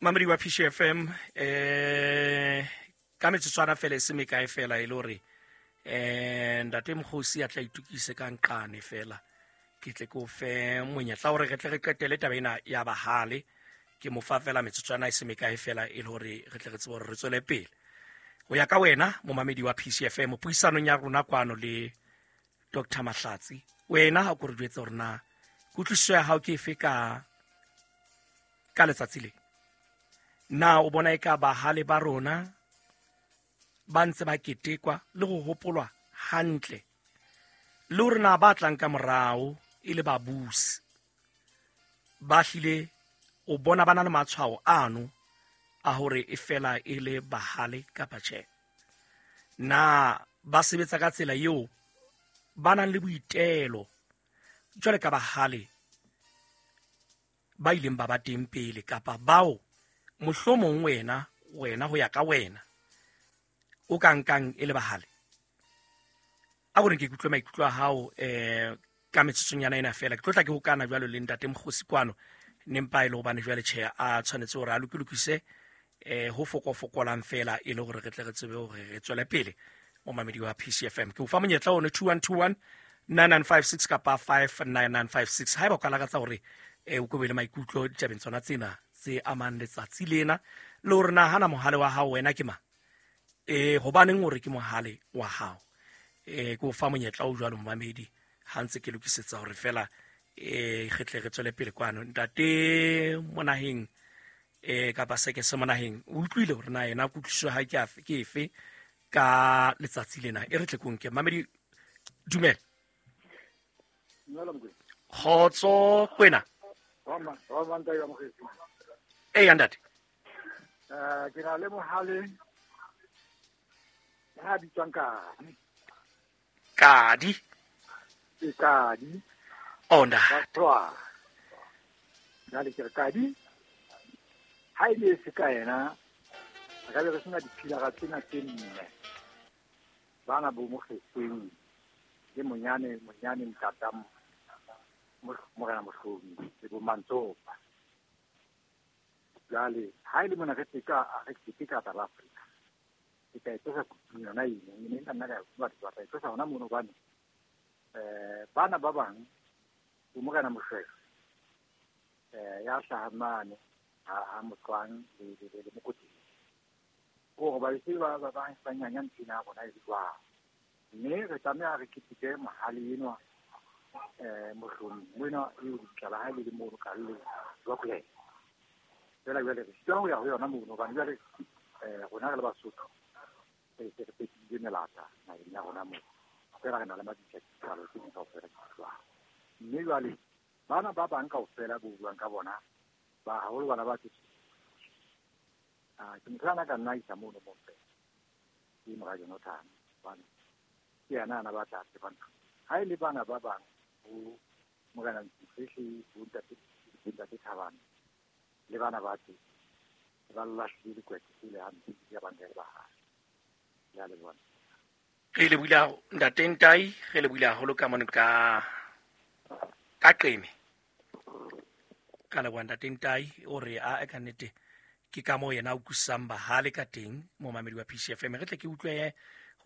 Mamedi wa PCFM, ka metsotswana fela e se mekae fela e le hore ntate Mokgosi a tla itukise ka nqane fela, ke tle ke o fe monyetla hore re tle re qetele taba ena ya bahale. Ke mo fa fela metsotswana e se mekae fela e le hore re tle re tsebe hore re tswele pele. Ho ya ka wena momamedi wa PCFM, puisanong ya rona kwano le Dr. Mahlatsi, wena ha o ko re jwetse hore na kutlwisiso ya hao ke efe ka letsatsi le? Na o bona eka bahale ba rona ba ntse ba ketekwa le go hopolwa hantle, le hore na ba tlang ka morao e le babusi ba hlile o bona ba na le matshwao ano a hore e fela e le bahale kapa tjhe? Na ba sebetsa ka tsela eo ba nang le boitelo jwale ka bahale ba ileng ba ba teng pele, kapa bao mohlomong wena ho ya ka wena o ka nkang e le bahale? A gore ke kutlwe maikutlo a hao ka metsotsonyana ena fela. Ke tlo tla ke hokana jwalo le ntate Mokgosi kwano, nempa e le hobane jwale tjhe a tshwanetse hore a lokilokise ho fokofokolang fela e le hore re tle re tsebe hore re tswele pele. Momamedi wa PCFM, ke o fa monyetla one 2121 9956 kapa 59956 haeba o ka lakatsa hore o kobe le maikutlo ditabeng tsona tsena tse amang letsatsi lena, le hore na hana mohale wa hao wena ke mang, hobaneng hore ke mohale wa hao. Ke o fa monyetla o jwalo momamedi ha ntse ke lokisetsa hore fela re tle re tswele pele kwano. Ntate Monaheng kapa seke se Monaheng, o utlwile hore na yena kutlwisiso ha ke ke efe ka letsatsi lena. E re tle konke mamedi. Dumela. Kgotso kwena. Ee ntate. Ke na le mohale ya bitswang Kadi. Kadi? Ke Kadi. Oh, ntate. Jwale ke re Kadi, ha e le se ka yena, re ka be re sena diphilara tsena tse nne. Bana bo Mokgethweng le monyane ntata Morena Mohlomi le bo Mantsopa. Jwale ha e le mona re teka South Africa, ke tla e tlosa kutung yona eno, mme nna nna ka batho ba tla e tlosa hona mono, hobane bana ba bang bo Morena Moshweshwe ya hlahang mane ha Motlwang le Mokotedi, hore ba ise ba nyanya ntho ena ya rona e jwang. Mme re tlameha re keteke mohale enwa Mohlomi wena eo lebitla la hae le le mono ka le Rockland. Fela jwale re sitwa ho ya ho yona mono, hobane jwale rona re le Basotho re se re fetile melata naheng ya rona moo. Fela re na le mabitla dipalo tse ding kaofela di jwang. Mme jwale bana ba bang kaofela bo buang ka bona, ba haholo bana ba tse ke motho ana ka nna isa mono mo fela. Ke mora Jonathan, hobane ke yena ana ba tla tseba ntho. Ha e le bana ba bang bo Morena Ntsifehle, bo ntate Thabane le bana ba teng, ba lahlile dikwete tsele hampe ya bangele ba hae. Ya le bona. Re le buile ntate Ntai, re le buile haholo ka mono ka Qeme. Ka leboha ntate Ntai, o re a ka nnete ke ka moo yena a utlwisisang bahale ka teng momamedi wa PCFM. Re tle ke utlwe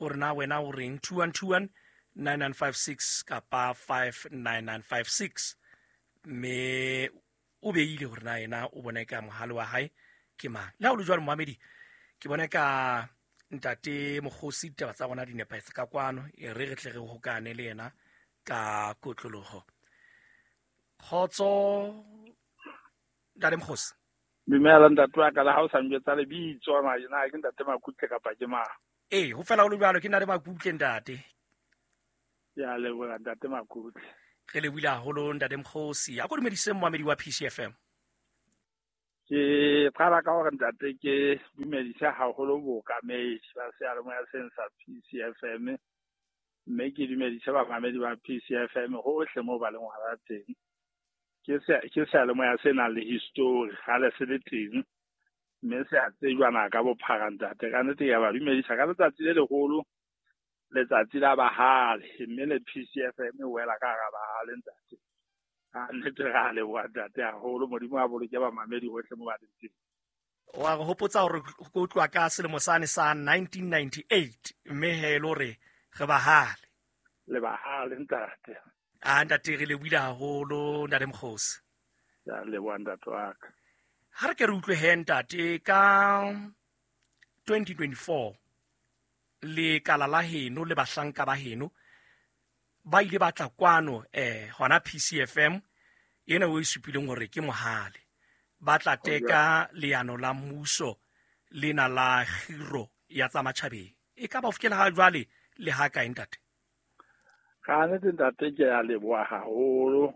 hore na wena o reng. 2121 9956 kapa 59956, mme o beile hore na yena o bona ka mohale wa hae ke mang. Le ha o le jwalo momamedi, ke bona ka ntate Mokgosi ditaba tsa rona di nepahetse ka kwano, e re re tle re hokane le yena ka kotloloho. Kgotso ntate Mokgosi. Dumela ntate wa ka, le ha o sa njwetsa lebitso na ke ntate Makutle kapa ke mang? Ee, ho fela ho le jwalo, ke ntate Makutle ntate. Ke a leboha ntate Makutle. Re lebohile haholo ntate Mokgosi. A ko dumedise momamedi wa PCFM. Ke qala ka hore ntate ke dumedise haholo bookamedi ba seyalemoya seng sa PCFM, mme ke dumedise bamamedi ba PCFM hohle moo ba leng hona teng. Ke seyalemoya se nang le history, kgale se le teng, mme se a tsejwana ka bophara ntate. Ka nnete ke a ba dumedisa ka letsatsi le leholo, letsatsi la bahale, mme le PCFM e wela ka hara bahale ntate. Ka nnete re a leboha ntate haholo. Modimo a boloke bamamedi hohle moo ba leng teng. Wa re hopotsa hore ko tloha ka selemo sane sa 1998, mme he e le hore re bahale. Le bahale ntate. A ntate, re lebohile haholo ntate Mokgosi. Ya leboha ntate wa ka. Ha re ke re utlwe he ntate, ka 2024 lekala la heno le bahlanka ba heno ba ile ba tla kwano hona PCFM ena o e supileng hore ke mohale, ba tla teka leano la mmuso lena la kgiro ya tsa matjhabeng. E ka ba ho fihlela ha jwale le ha kae ntate? Ka nnete ntate, ke a leboha haholo,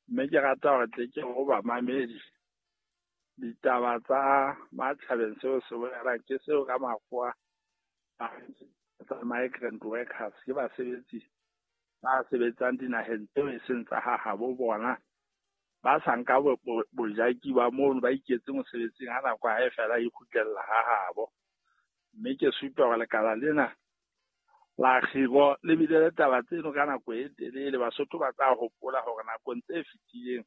mme ke rata hore tle ke ho bamamedi ditaba tsa matjhabeng. Seo se bolelang ke seo ka makgowa tsa migrant workers, ke basebetsi ba sebetsang dinaheng tseo e seng tsa ha habo bona, ba sa nka bojaki ba mono, ba iketse mosebetsing, ha nako ha e fela e kgutlella ha habo. Mme ke supa hore lekala lena la kgiro le bile le taba tseno ka nako e telele. Basotho ba tla hopola hore nakong tse fetileng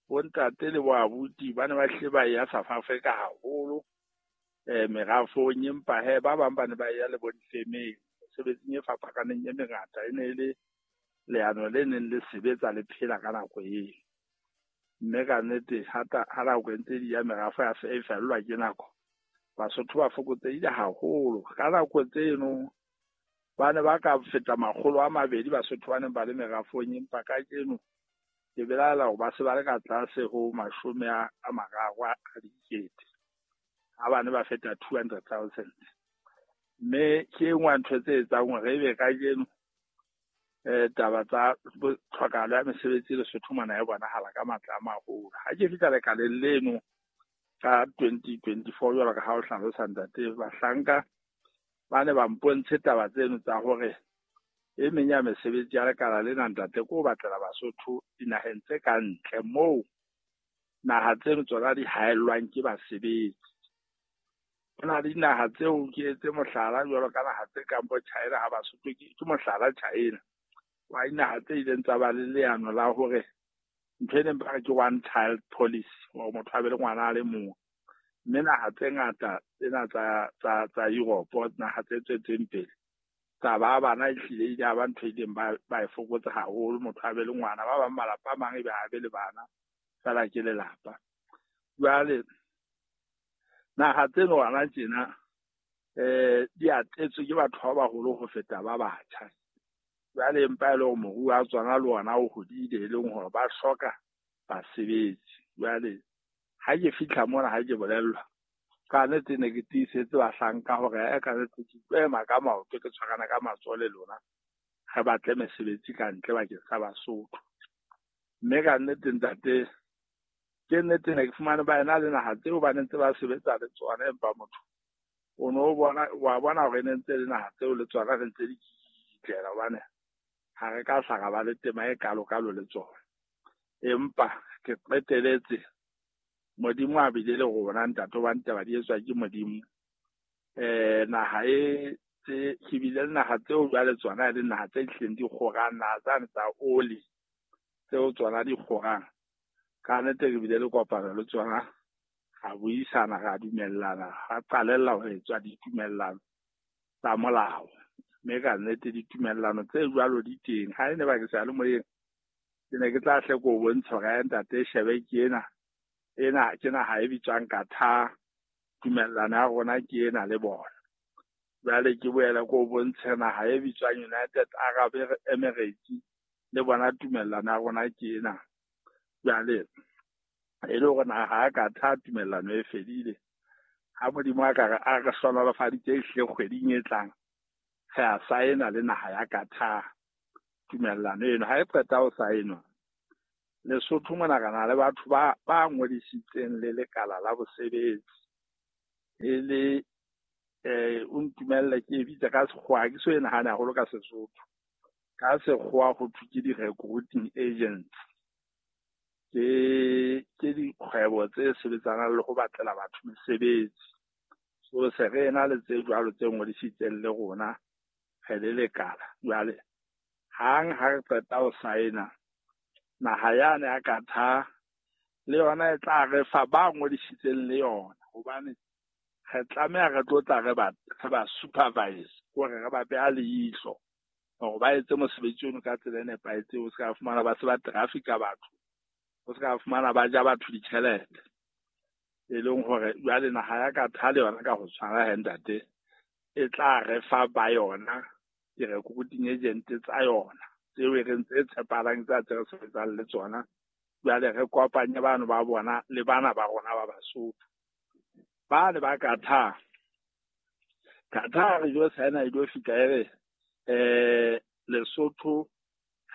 bontate le boabuti ba ne ba hlile ba ya South Africa haholo merafong, empa he ba bang ba ne ba ya le bo difemeng mesebetsing e fapakaneng e mengata. E ne e le leano le neng le sebetsa le phela ka nako eo, mme ka nnete ha nako e ntse di ya, merafo ya e fellwa ke nako, Basotho ba fokotsehile haholo. Ka nako tseno ba ne ba ka feta 200 Basotho ba neng ba le merafong, empa kajeno ke belaela hore ba se ba le ka tlase ho 30,000, ha ba ne ba feta 200,000. Mme ke e nngwe ya ntho tse etsang hore ebe kajeno taba tsa tlhokahalo ya mesebetsi Lesotho mona e bonahala ka matla a maholo. Ha ke fihla lekaleng leno ka 2024, jwalo ka ha o hlalosa ntate, bahlanka ba ne ba mpontshe taba tseno tsa hore e meng ya mesebetsi ya lekala lena ntate ke ho batlela Basotho dinaheng tse ka ntle, moo naha tseno tsona di haellwang ke basebetsi. Ho na le dinaha tseo, ke etse mohlala jwalo ka naha tse kang bo China, ha Basotho ke mohlala China wa dinaha tse ileng tsa ba le leano la hore ntho e neng ba re ke one child policy, hore motho a be le ngwana a le mong. Mme naha tse ngata tsena tsa Europe, naha tse tswetseng pele, tsa ba bana ehlile ile ya ba ntho e ileng ba e fokotsa haholo, motho a be le ngwana. Ba bang malapa a mang ebe ha be le bana fela ke lelapa. Jwale naha tseno hona tjena di atetswe ke batho ba baholo ho feta ba batjha. Jwale empa e le hore moruo wa tsona le ona o hodile, e leng hore ba hloka basebetsi. Jwale ha ke fihla mona, ha ke bolellwa, ka nnete ne ke tiisetse bahlanka hore ka nnete ke tlo ema ka maoto, ke tshwarana ka matsoho le lona, re batle mesebetsi ka ntle bakeng sa Basotho. Mme ka nnete ntate, ke nnete ne ke fumane ba ena le naha tseo ba ne ntse ba sebetsa le tsona, empa motho o no bona, wa bona hore ne ntse le naha tseo le tsona re ntse di kitlela, hobane ha re ka hla ra ba le tema e kalo-kalo le tsona. Empa ke qeteletse Modimo a bile le rona ntate, hobane taba di etswa ke Modimo. Naha e tse ke bile le naha tseo jwale tsona e le naha tse hlileng di kgorang, naha tsane tsa oli tseo tsona di kgorang. Ka nnete re bile le kopano le tsona, ra buisana, ra dumellana, ra qalella ho etswa ditumellano tsa molao. Mme ka nnete ditumellano tse jwalo di teng. Ha e ne ba ke seyalemoyeng, ke ne ke tla hle ko o bontsha hore ntate shebe ke ena, ena ke naha e bitswang Qatar, tumellano ya rona ke ena le bona. Jwale ke boele ko o bontshe naha e bitswang United Arab Emirates, le bona tumellano ya rona ke ena. Jwale e le hore naha ya Qatar tumellano e fedile, ha Modimo a ka re a re hlohonolofaditse ehlile kgweding e tlang, re a saena le naha ya Qatar tumellano eno. Ha e qeta ho saenwa, Lesotho mona re na le batho ba ngodisitseng le lekala la bosebetsi, e le o ntumelle ke e bitse ka sekgowa, ha ke so e nahane haholo ka Sesotho. Ka sekgowa ho thwe ke di-recruiting agents, ke dikgwebo tse sebetsanang le ho batlela batho mesebetsi. So se re ena le tse jwalo tse ngodisitseng le rona re le lekala. Jwale hang ha re qeta ho saena, naha yane ya Qatar le yona e tla re fa ba ngodisitseng le yona. Hobane re tlameha re tlo tla re ba supervise, hore re ba beha leihlo hore ba etse mosebetsi ono ka tsela e nepahetseng. O se ka fumana ba se ba traffic-a batho, o se ka fumana ba ja batho ditjhelete. E leng hore jwale naha ya Qatar le yona ka ho tshwana he ntate, e tla re fa ba yona di-recruiting agent tsa yona tseo e reng tse tshepahalang tsa tse re sebetsang le tsona. Jwale re kopanye bano ba bona le bana ba rona ba Basotho. Ba le ba Qatar. Qatar re jo saena e jo fihla e re Lesotho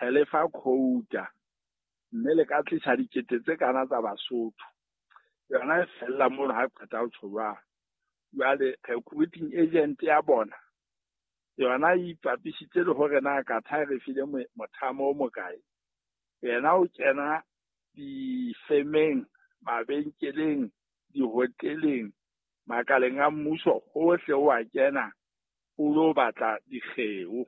re le fa quota mme le ka tlisa dikete tse kana tsa Basotho. Yona e fella mono ha qeta ho tjho jwalo. Jwale recruiting agent ya bona yona e ipapisitse le hore na Qatar re file mothamo o mokae. Yena o kena difemeng, mabenkeleng, dihoteleng, makaleng a mmuso, hohle o a kena o lo batla dikgeo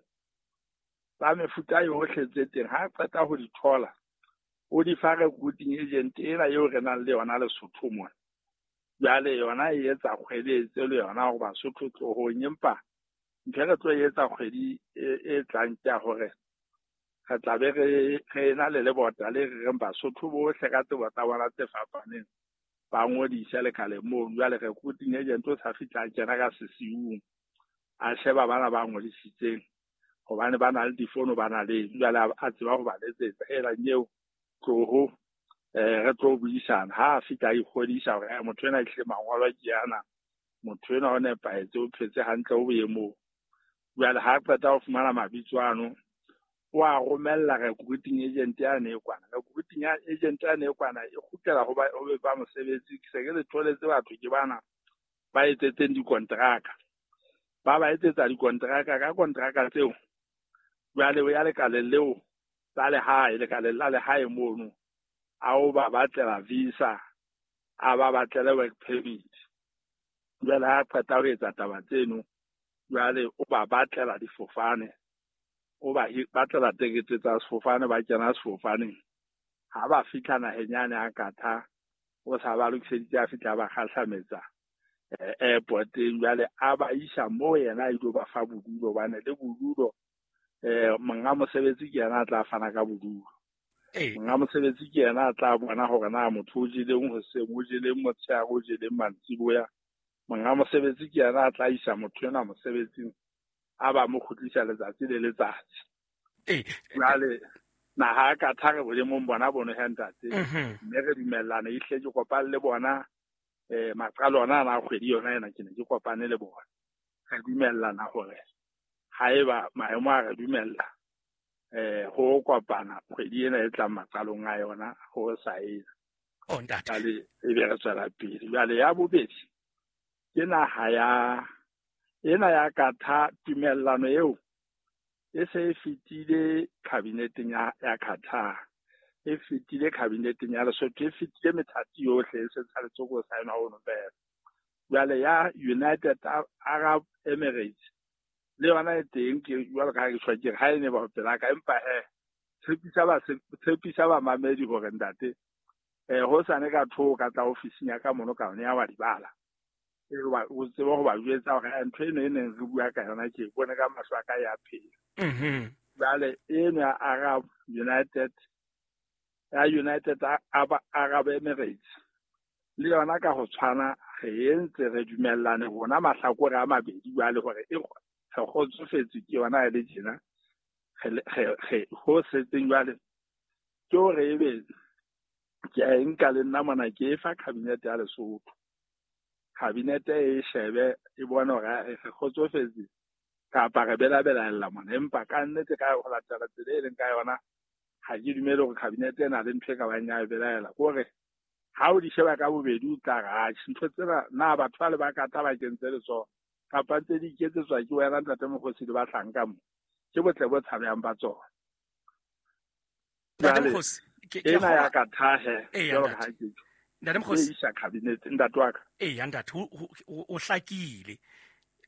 tsa mefuta yohle tse teng. Ha qeta ho di thola, o di fa recruiting agent ena eo re nang le yona Lesotho mona. Jwale yona e etsa kgweletse le yona hore Basotho tlohong, empa ntho e re tlo etsa kgwedi e tlang ke ya hore re tla be re na le lebota le re reng Basotho bohle ka tsebo tsa bona tse fapaneng ba ngodise lekaleng mono. Jwale recruiting agent o sa fihla a kena ka sesiung a sheba bana ba ngodisitseng hobane ba na le difono, ba na le jwale a tseba ho ba letsetsa hela nyeo tloho re tlo buisana. Ha a fihla a ikgodisa hore motho ena ehlile mangolo ke ana, motho ena o nepahetse, o phetse hantle, o boemong. Jwale ha qeta ho fumana mabitso ano, o a romella recruiting agent yane e kwana. Recruiting agent yane e kwana e kgutlela ho ba mosebetsi. Ke se ke le tholetse batho ke bana ba etsetseng dikontraka. Ba ba etsetsa dikontraka, ka kontraka tseo jwale o ya lekaleng leo la lehae, lekaleng la lehae mono, a o ba batlela visa, a ba batlele work permit. Jwale ha qeta ho etsa taba tseno, jwale o ba batlela difofane, o ba batlela tekete tsa sefofane, ba kena sefofaneng. Ha ba fihla naheng yane ya Qatar, o sa ba lokiseditse, a fihla ba kgahlametsa airporteng. Jwale a ba isa moo yena a ilo ba fa bodulo, hobane le bodulo monga mosebetsi ke yena a tla fana ka bodulo. Monga mosebetsi ke yena a tla bona hore na motho o jeleng hoseng, o jeleng motshehare, o jeleng mantsiboya. Monga mosebetsi ke yena a tla isa motho ena mosebetsing, a ba mo kgutlisa letsatsi le letsatsi. Jwale naha ya Qatar re boemong bona bono he ntate, mme re dumellana ehlile ke kopane le bona maqalo ona ana a kgwedi yona ena ke ne ke kopane le bona. Re dumellana hore haeba maemo a re dumella ho kopana kgwedi ena e tlang maqalong a yona ho saena. Oh ntate. Jwale e be re tswela pele. Jwale ya bobedi ke naha ya ena ya Qatar, tumellano eo e se e fetile kabineteng ya Qatar, e fetile kabineteng ya Lesotho, e fetile methati yohle, e se tshwanetse ho saenwa hono fela. Jwale ya United Arab Emirates le yona e teng, ke jwalo ka ha ke tjho ke re ha e ne ba pela ka, empa he tshepisa bamamedi hore ntate hosane ka thoko ka tla ofising ya ka mono ka yona ya wa di bala. O tsebe ho ba jwetsa hore ntho eno e neng re bua ka yona ke bone ka mahlo a ka ya phela. Jwale eno ya Arab United, ya United Arab Emirates le yona ka ho tshwana re entse re dumellane rona mahlakore a mabedi jwale hore e re kgotsofetse ke yona e le tjena. Re ho setseng jwale ke hore ebe ke a e nka le nna mona ke e fa cabinet ya Lesotho. Cabinet e shebe e bone hore re kgotsofetse kapa re belabelaella mona, empa ka nnete ka ho latela tsela e leng ka yona ha ke dumele hore cabinet e na le ntho e ka bang ya e belaela. Ke hore ha o di sheba ka bobedi o tla re atjhe ntho tsena na batho ba le ba Qatar ba kentse letsoho kapa ntse di iketsetswa ke wena ntate Mokgosi le bahlanka mo, ke botle bo tshabehang ba tsona. Ntate Mokgosi, ena ya Qatar he, jwalo ka ha ke tjho. Ntate Mokgosi, e isa cabinet ntate wa ka. Eya ntate, o hlakile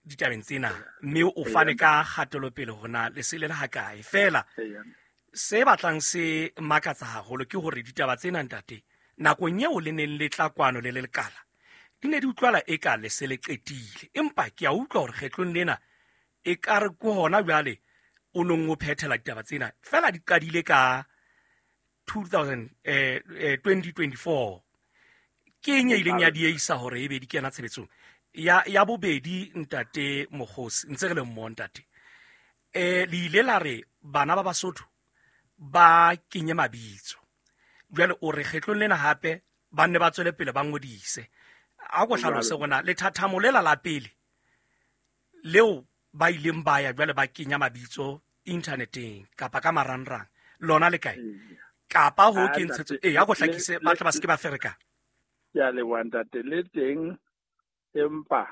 ditabeng tsena mme o fane ka kgatelopele hore na lesele le hakae. Feela se batlang se makatsa haholo ke hore ditaba tsena ntate, nakong eo le neng le tla kwano le le lekala, Di ne di utlwala e ka le se le qetile, empa ke a utlwa hore kgetlong lena e ka re ke hona jwale o nong o phethela ditaba tsena. Fela di qadile ka 2024. Ke eng e ileng ya dieisa hore ebe di kena tshebetsong? Ya bobedi, ntate Mokgosi, ntse re le mmoho ntate. Le ile la re bana ba Basotho ba kenye mabitso. Jwale o re kgetlong lena hape ba nne ba tswele pele ba ngodise. A ko hlalose rona lethathamo lela la pele leo ba ileng ba ya jwale ba kenya mabitso inthaneteng kapa ka marangrang, lona le kae? Kapa ho ke ntshetso e a ko hlakise ba tle ba se ke ba ferekana. Ke a leboha ntate, le teng empa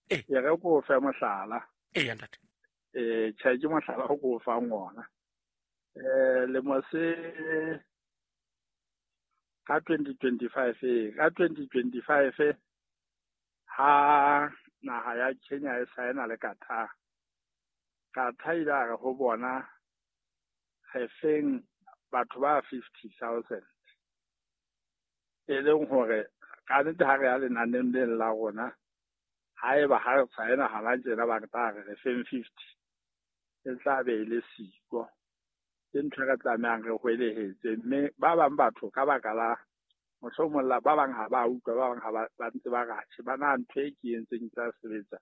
e re ko fe mohlala. Ee ntate. Tjhe ke mohlala o ko fang ona. Lemo se ka 2025, ka 2025 ha naha ya Kenya e saena le Qatar. Qatar ile a re ho bona re feng batho ba 50,000. E leng hore ka nnete ha re ya lenaneng leng la rona, haeba ha re saena hana tjena ba re tla re re feng 50, e tla be e le siko. Ke ntho e re tlamehang re hwelehetse, mme ba bang batho ka baka la mohlomong la ba bang ha ba utlwa, ba bang ha ba ntse ba re atjhe, ba na ntho e ke entseng e tla sebetsa.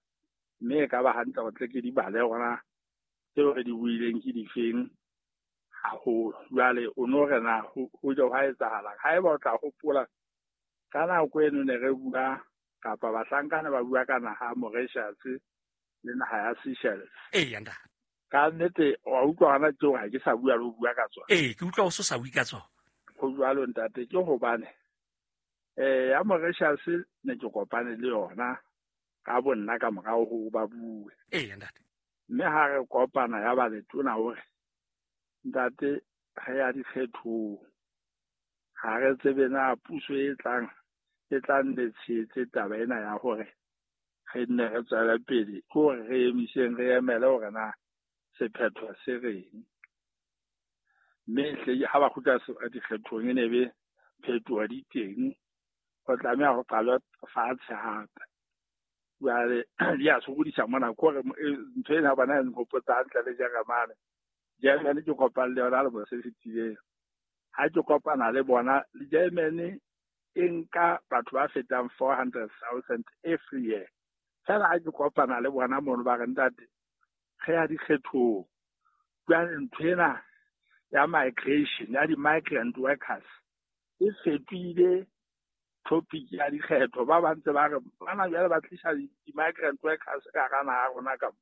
Mme e ka ba hantle hore tle ke di bale hore na tseo re di buileng ke difeng haholo. Jwale o no re na ho je hwa etsahalang? Haeba o tla hopola ka nako eno ne re bua kapa bahlankana ba bua ka naha ya Mauritius le naha ya Seychelles. Ee, ntate. Ka nnete wa utlwa hona tjeo ha ke sa bua le ho bua ka tsona. Ee, ke utlwa o so sa bue ka tsona. Ho jwalo ntate, ke hobane ya Mauritius ne ke kopane le yona ka bo nna ka morao ho ba bue. Ee, ntate. Mme ha re kopana ya ba letona hore ntate re ya dikgethong, ha re tsebe na puso e tlang e tla nne tshehetse taba ena ya hore re nne re tswele pele, ke hore re emiseng re emele hore na sephetho se reng. Mme hle ha ba kgutla dikgethong e ne be phetoho di teng, ho tlameha ho qalwe fatshe hape. Jwale di a sokodisa mona, ke hore ntho ena bona e nhopotsa hantle le Jeremane. Germany ke kopane le yona lemo se fetileng. Ha ke kopana le bona, le Germany e nka batho ba fetang 400,000 every year. Fela ha ke kopana le bona mono ba re ntate, re ya dikgethong. Jwale ntho ena ya migration, ya di-migrant workers e fetohile topic ya dikgetho. Ba ba ntse ba re bana jwale ba tlisa di-migrant workers ka hara naha ya rona ka mo.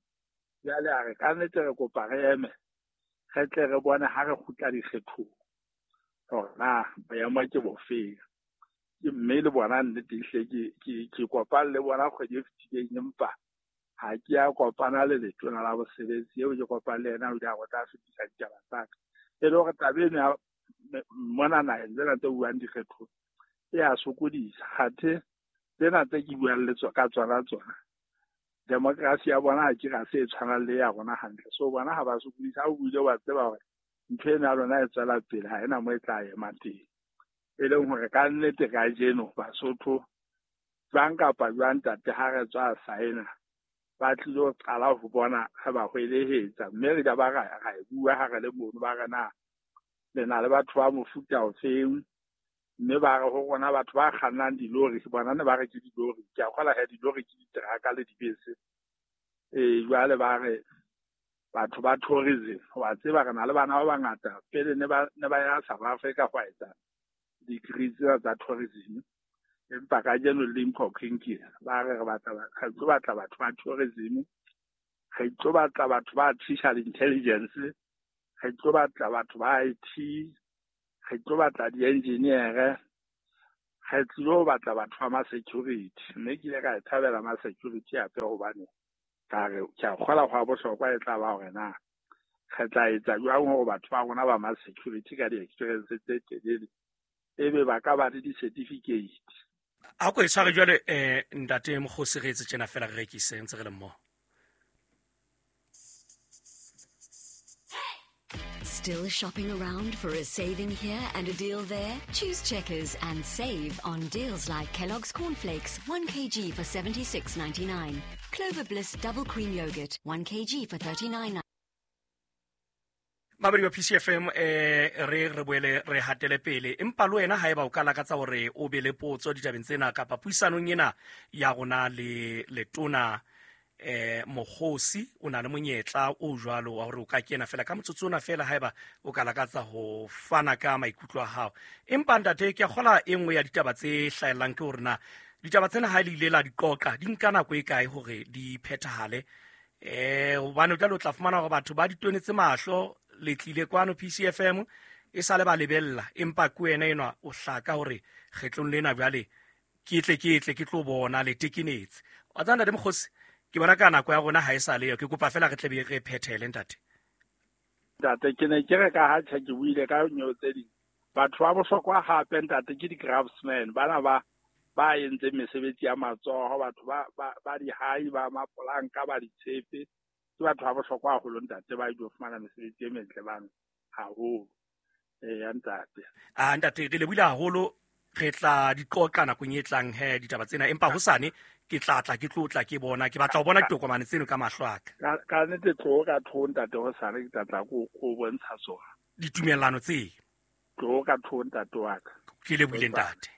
Jwale a re ka nnete re kopa re eme, re tle re bone ha re kgutla dikgethong hore na boemo ke bofeng. Ke mme le bona nnete ehlile ke kopane le bona kgwedi e fetileng, empa ha ke a kopana le letona la bosebetsi eo ke kopane le yena, o ile a re o tla fetisa ditaba tsa ka. E le hore taba eno ya mona naheng tsena tse buang dikgethong e a sokodisa. Kgathe tsena tse ke buang le ka tsona tsona, democracy ya bona ha ke ra se e tshwanang le ya rona hantle. So bona ha ba sokodisa, ha o buile wa tseba hore ntho ena ya lona e tswela pele, ha ena mo e tla ema teng. E leng hore ka nnete kajeno Basotho jwang kapa jwang ntate ha re tswa saena, ba tlilo qala ho bona re ba hwelehetsa. Mme re ba ra e bua ha re le mono, ba re na le na le batho ba mofuta ofeng, mme ba re ho rona batho ba kgannang dilori, bona ne ba re ke dilori, ke a kgola he dilori ke diteraka le dibese. Jwale ba re batho ba tourism, wa tseba re na le bana ba bangata pele ne ba ya South Africa ho etsa degree tsena tsa tourism, empa kajeno le Limkokwing ba re re tlo batla batho ba tourism, re tlo batla batho ba artificial intelligence, re tlo batla batho ba IT, re tlo batla di-engineer, re tlo batla batho ba ma-security. Mme ke ile ka e thabela ma-security hape hobane ka re ke a kgola ho a bohlokwa e tla ba hore na re tla etsa jwang hore batho ba rona ba ma-security ka di-experience tse telele ebe ba ka ba le di-certificate. A ko e tshware jwale ntate Mokgosi, re etse tjena fela re rekise ntse re le mmoho. Still shopping around for a saving here and a deal there? Choose Checkers and save on deals like Kellogg's Cornflakes, 1 kg for 76.99. Clover Bliss Double Cream Yogurt, 1 kg for 39. Mamedi wa PCFM, re boele re hatele pele, empa le wena haeba o ka lakatsa hore o be le potso ditabeng tsena kapa puisanong ena ya rona le letona Mokgosi, o na le monyetla o jwalo wa hore o ka kena fela ka motsotso ona fela haeba o ka lakatsa ho fana ka maikutlo a hao. Empa ntate, ke a kgola e nngwe ya ditaba tse hlahellang ke hore na ditaba tsena ha le ile la di qoqa di nka nako e kae hore di phethahale, hobane o tla lo tla fumana hore batho ba di tonetse mahlo, le tlile kwano PCFM e sale ba lebella, empa ke wena enwa o hlaka hore kgetlong lena jwale ke tle ke tlo bona le tekenetse. Wa tseba ntate Mokgosi, ke bona ka nako ya rona ha e sa leyo, ke kopa fela re tle be re phethele ntate. Ntate, ke ne ke re ka ha tjhe ke buile ka nyo tse ding. Batho ba bohlokwa hape ntate ke di-craftsmen, bana ba entseng mesebetsi ya matsoho, batho ba dihai, ba mapolanka, ba ditshepe. Ke batho ba bohlokwa haholo ntate, ba ilo fumana mesebetsi e metle bana haholo. Eya ntate. Ntate, re lebohile haholo, re tla di qoqa nakong e tlang he ditaba tsena, empa hosane ke tla tla ke tlo tla ke bona, ke batla ho bona ditokomane tseno ka mahlo a ka. Ka nnete tlo ka tho ntate hosane ke tla tla go bontsha tsona. Ditumellano tse. Tlo ka tho ntate wa ka. Ke lebohile ntate.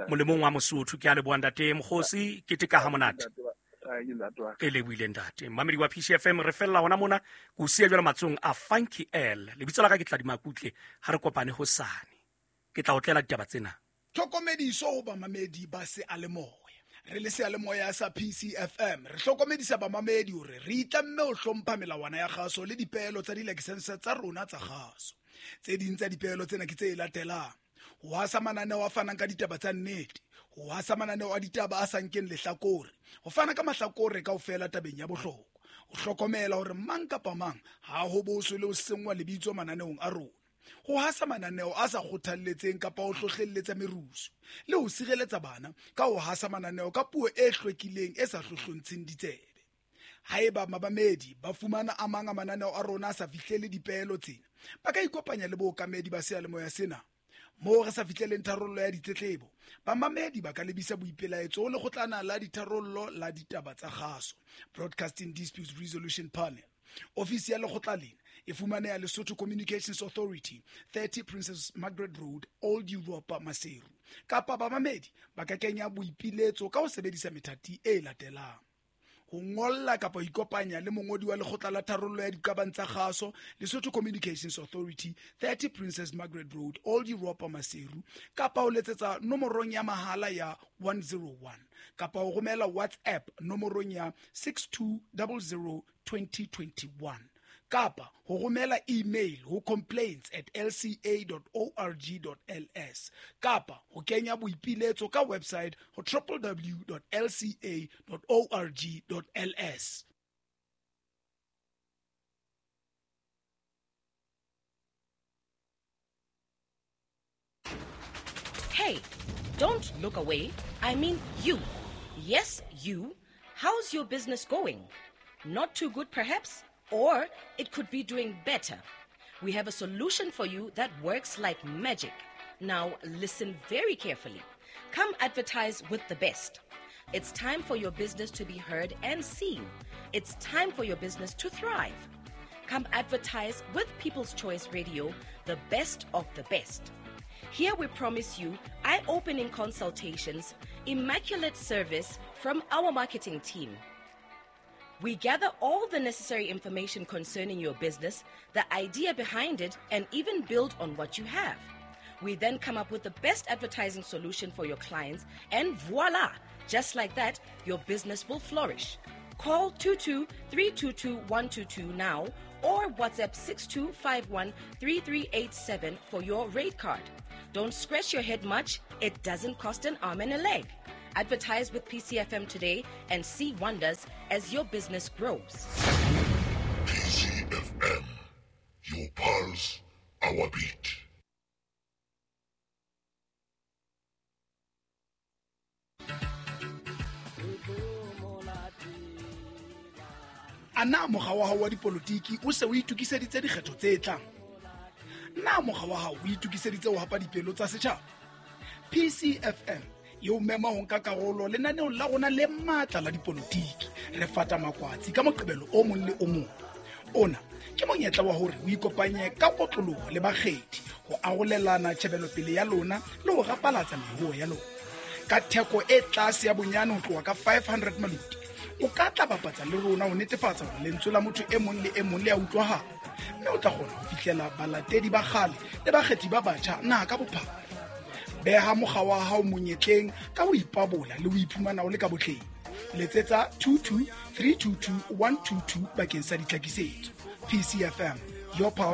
Molemong wa Mosotho, ke a leboha ntate Mokgosi, ke teka ha monate. Ke lebohile ntate. Mamedi wa PCFM, re fella hona mona, ke o siya jwale matsohong a Funky L. Lebitso la ka ke Tladi Makutle, ha re kopane hosane. Ke tla o tlela ditaba tsena. Tlhokomediso ho bamamedi ba seyalemoya. Re le seyalemoya sa PCFM, re hlokomedisa bamamedi hore re itlamme ho hlompha melawana ya kgaso le dipeelo tsa dilakesense tsa rona tsa kgaso. Tse ding tsa dipeelo tsena ke tse latelang: ho hasa mananeo a fanang ka ditaba tsa nnete, ho hasa mananeo a ditaba a sa nkeng lehlakore, ho fana ka mahlakore kaofela tabeng ya bohlokwa, ho hlokomela hore mang kapa mang ha ho boswe le ho senngwa lebitso mananeong a rona, ho hasa mananeo a sa kgothalletseng kapa ho hlohlelletsa merusu, le ho sireletsa bana ka ho hasa mananeo ka puo e hlwekileng e sa hlohlontsheng ditsebe. Haeba mabamedi ba fumana a mang a mananeo a rona a sa fihlele dipeelo tsena, ba ka ikopanya le bookamedi ba seyalemoya sena. Moo re sa fihleleng tharollo ya ditletlebo, bamamedi ba ka lebisa boipelaetso ho lekgotlana la ditharollo la ditaba tsa kgaso, Broadcasting Disputes Resolution Panel. Ofisi ya lekgotla lena e fumaneha Lesotho Communications Authority, 30 Princess Margaret Road, Old Europa, Maseru. Kapa bamamedi ba ka kenya boipiletso ka ho sebedisa methati e latelang: ho ngolla kapa ho ikopanya le mongodi wa lekgotla la tharollo ya diqabang tsa kgaso, Lesotho Communications Authority, 30 Princess Margaret Road, Old Europa, Maseru, kapa ho letsetsa nomorong ya mahala ya 101, kapa ho romela WhatsApp nomorong ya 6200 2021, kapa ho romela email ho complaints@lca.org.ls, kapa ho kenya boipiletso ka website ho www.lca.org.ls. Hey, don't look away. I mean you. Yes, you. How's your business going? Not too good, perhaps? Or it could be doing better. We have a solution for you that works like magic. Now, listen very carefully. Come advertise with the best. It's time for your business to be heard and seen. It's time for your business to thrive. Come advertise with People's Choice Radio, the best of the best. Here we promise you eye-opening consultations, immaculate service from our marketing team. We gather all the necessary information concerning your business, the idea behind it, and even build on what you have. We then come up with the best advertising solution for your clients, and voila! Just like that, your business will flourish. Call 22 322 122 now or WhatsApp 6251 3387 for your rate card. Don't scratch your head much. It doesn't cost an arm and a leg. Advertise with PCFM today and see wonders as your business grows. PCFM, your pulse, our beat. Ana mokga wa hao wa dipolotiki o se o itokiseditse dikgetho tse tlang? Na mokga wa hao o itokiseditse ho hapa dipelo tsa setjhaba? PCFM e o mema ho nka karolo lenaneong la rona le matla la dipolotiki. Re fata makwatsi ka Moqebelo o mong le o mong. Ona ke monyetla wa hore o ikopanye ka kotloloho le bakgethi ho arolelana tjhebelopele ya lona le ho rapalatsa meruo ya lona. Ka theko e tlase ya bonyane ho tloha ka 500 maluti, o ka tla bapatsa le rona ho netefatsa hore lentswe la motho e mong le e mong le a utlwahala, mme o tla kgona ho fihlela balatedi ba kgale le bakgethi ba batjha naha ka bophara. Beha mokga wa hao monyetleng ka ho ipabola le ho iphumana o le ka botleng. Letsetsa 22 322 122 bakeng sa ditlhakisetso. PCFM, your pulse.